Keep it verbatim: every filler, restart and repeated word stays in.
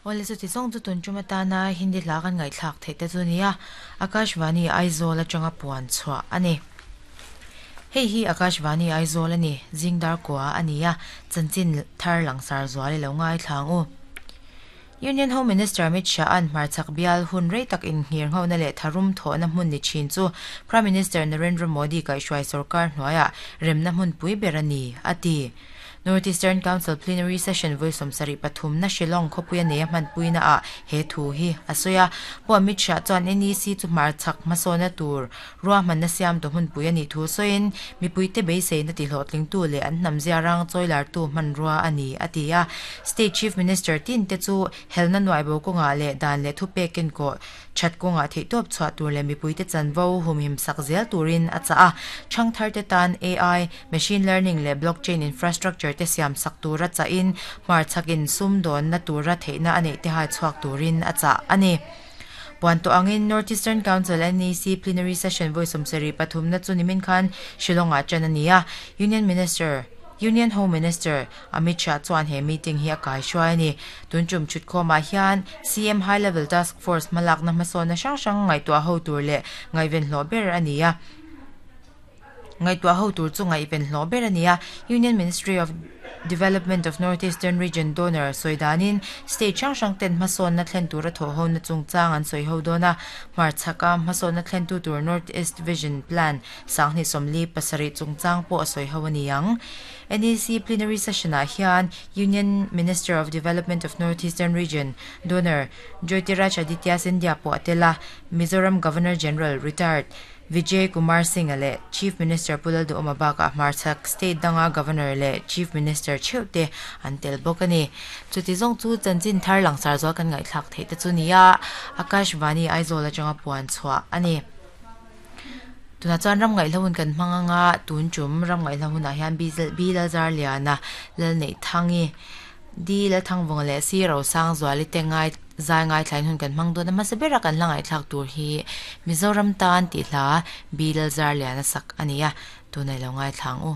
Awle chuti zawng chu tun tum atana Hindi hla kan ngaihthlak theih te chu nia Akashvani Aizawl atanga puan chhuah ani. Hei hi Akashvani Aizawl ani zingdar kwa ania chanchin thar langsar zuali lo ngai thlang u. Union Home Minister Amit Shah an hmarchhak bial hun rei tak in nghir ngho na leh tharum thaw na hmun ni thin chu Prime Minister Narendra Modi kaihhruai sarkar hnuaiah remna hmun pui ber ani ati. North Eastern Council Plenary Session voi sawmsarih pathum na Shillong khawpui a nei a hmanpui na ah he thu hi a sawi a. Pu Amit Shah chuan N E C chu hmarchhak hmasawna tur ruahman na siam tu hmunpui ani thu sawiin mipui te beisei na ti hlawhtling tu leh an hnam zia rang chawilar tu hmanrua ani ati a. State Chief Minister tin te chu helna nuai bo kawnga leh dan leh thu pekin ko that kawnga theih tawp chhuah tur leh mipui te chanvo humhim sak zel turin a chah a. Chang thar te tan A I, machine learning leh blockchain infrastructure te siam sak tura cha in hmarchhakin sum dawn na tura theihna anei te hai chhuak turin a chah ani. Puan to angin North Eastern Council N E C Plenary Session voi sawmsarih pathum na chu nimin khan Shillong ah chan ania. Union Minister Union Home Minister Amit Shah chuan he meeting hi a kai hruai ani. Tun chum thut khawmah hian C M High Level Task Force hmalak na hmasawn na hrang hrang ngaihtuah ho tur leh ngaihven hlawh ber ania. Ngaihtuah ho tur chu ngaihven hlawh ber ania. Union Ministry of Development of North Eastern Region donor sawidanin state hrang hrang ten hmasawn na thlen tura thaw ho na chungchang an sawi ho dawn a. Hmarchhaka hmasawn na thlen tu tur North East Vision Plan sanghnih sawmli pasarih chungchang pawh a sawi ho ani ang. N E C Plenary Session ah hian Union Minister of Development of North Eastern Region donor Jyotiraj Aditya Scindia pawh a tel a. Mizoram Governor General retired Vijay Kumar Singh le Chief Minister Pulal Duhoma bakah hmarchhak state danga Governor le Chief Minister theuh an tel bawk ani. Chuti zawng chu chanchin thar langsar zual kan ngaihthlak theih te chu nia Akashvani Aizawl atanga puan chhuah ani. Tuna chuan ram ngaih hlahun kan hmanganga tun tum ram ngaih hlahunah hian Bilal Zar Liana lal nei thangi di la thangvawng leh si ro sang zuali te ngai zai ngai thlain hun kan hmang dawn a hmasa bera kan hla ngaihthlak tur hi Mizoram tan tih hla Bilal Zar Liana sak ania tunai lo ngai thlang u.